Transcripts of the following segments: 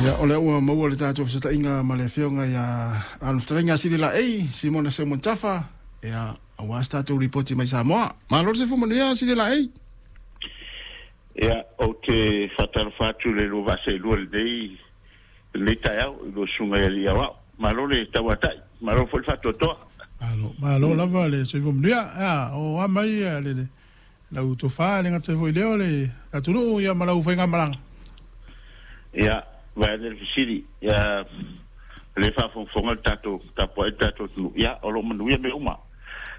Ia, o lea ua maua le tatou fesootaiga ma le Afioga ia le Fetalaiga Sililaei Simona Seumanutafa, ia, aua se tatou lipoti mai Samoa. Malo le soifua manuia Sililaei. Ia, ou te faatalofa atu i le lua vaa seelua i lenei, lenei taeao i lua susuga i alii aoao. Malo le tauatai, malo foi le faatoatoa. Malo, malo lava le soifua manuia. Ia, o a mai le, le lau tofa le gata foi lea o le atunuu ia ma lau faigamalaga. Ia, vaeane le fesili, ia, o lea e faafogafoga le tatou tapuai le tatou atunuu, ia, o lo o manuia mea uma.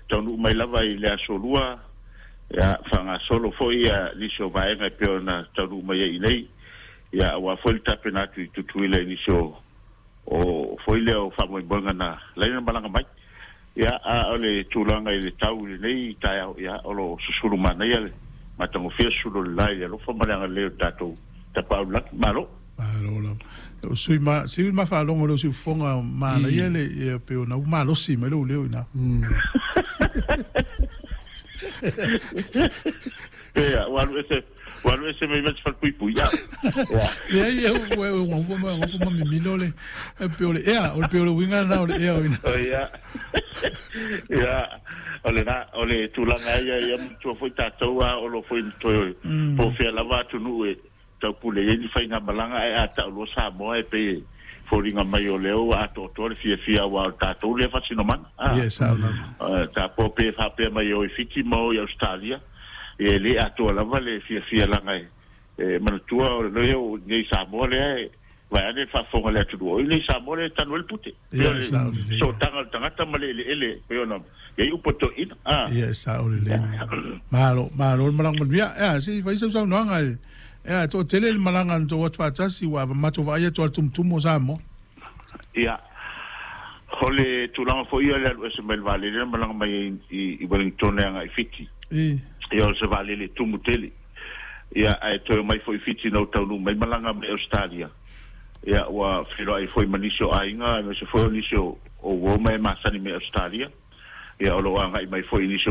Taunuu mai lava i le aso Lua, ia, faagasolo foi ia nisi o vaega e pei ona taunuu mai ai i inei, ia, aua foi le tapena atu i Tutuila i nisi o, o foi lea o faamoemoega na ala ai ona malaga mai. Ia, a o le tulaga i le tau i lenei taeao, ia, o lo o susulu manaia le matagofie susulu o le la i le alofa ma le agalelei o le tatou Tapaau i le Lagi. Malo. Malo lava. O sui ma sui ma faalogo le siufofoga manaia le ia pe ona u malosi mai lou leo ina. Ia, ua alu ese, ua alu ese mai ma se falepuipui. Ia. Ia. Leai, ua ua ua ma ua ma mimilo le pe o le ea, o le pe o le uiga na o le ea o ina. O ia. Ia, o le na, o le tulaga ia ia matua foi tatou a o lo foi na toe po o fea lava atunuu e taupule i ai ni faigamalaga ae a tau loa Samoa e pei e foliga mai o lea ua atoatoa le fiafia aua o le tatou lea faasinomana. A, Ia, e sao lava. Tapo pe faapea mai e o i Fiti ma o i Ausetalia, ia e le atoa lava le fiafia leaga e manatua o lea o nei Samoa lea e vaeane le faafofoga a le atunuu, o i nei Samoa lea e tanu ai le pute. Pei o le sootaga o le tagata ma le eleele pei ona i ai upu a toeaiina. Ia, e sao lelei. Malo, malo le malaga manuia. Ea, se i fai sau saunoaga e, ea, toatele le malaga na tou atu faatasi, ua matou vaai atu lava i le tumutumu o Samoa. Ia, o le tulaga foi ia o le alu ese mai le vaalele na malaga mai ai i Wellington e agai i Fiti. Ia, o se vaalele tumu tele. Ia, ae toe omai foi i Fiti ina ua taunuu mai malaga mai Ausetalia. Ia, ua feiloai foi ma nisi o aiga, aemaise foi o nisi o uo ma e masani mai Ausetalia. Ia, o lo o agai mai foi i nisi o